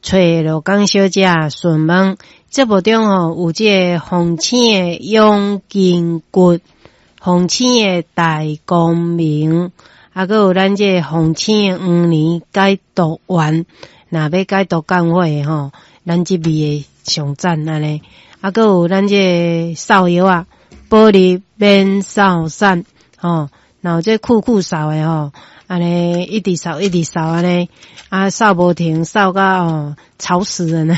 揣羅江小姐詢問。節目中吼有這个鳳醒的養筋骨，鳳醒的大光明，啊，閣有咱這个鳳醒的黃連解毒丸，若欲解毒降火的吼，咱這味的上讚按呢。啊，閣有咱這个掃藥仔，保利免掃散，吼，若有這褲褲掃的吼，按呢一直掃一直掃按呢，啊掃無停，掃甲哦吵死人了。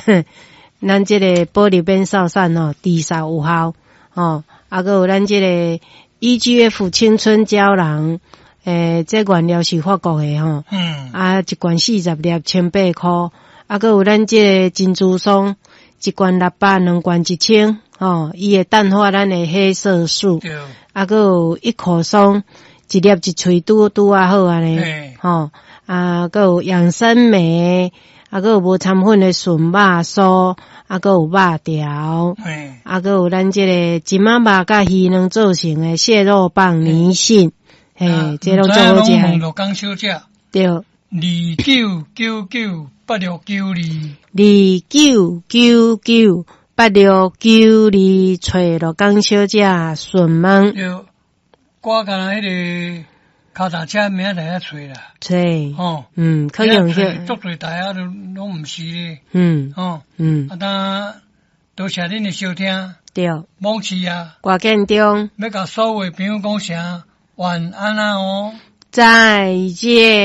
咱這个保利免掃散吼，治掃有效，吼，啊，閣有咱這个 EGF 青春膠囊，這原料是法國的吼，啊，一罐40粒，1008箍，啊，閣有咱這个珍珠霜，一罐600，兩罐1000，吼，伊會淡化咱的黑色素，啊，閣有一口霜，一粒一喙拄拄仔好按呢，吼，啊，閣有養生酶，啊，閣有無摻粉的純肉酥，啊，閣有肉條，啊，閣有咱這个金仔肉佮魚卵做成的蟹肉棒泥信，嘿，這攏足好食。問羅江小姐。對。29998692。29998692，揣羅江小姐詢問。對，我敢若彼个跤踏車明仔載來揣啦。揣。吼。可用去。足濟台仔都攏毋是咧。吼。啊，當多謝恁的收聽。對。罔市啊。歌建中。欲共所有的朋友講聲晚安啊哦。再見。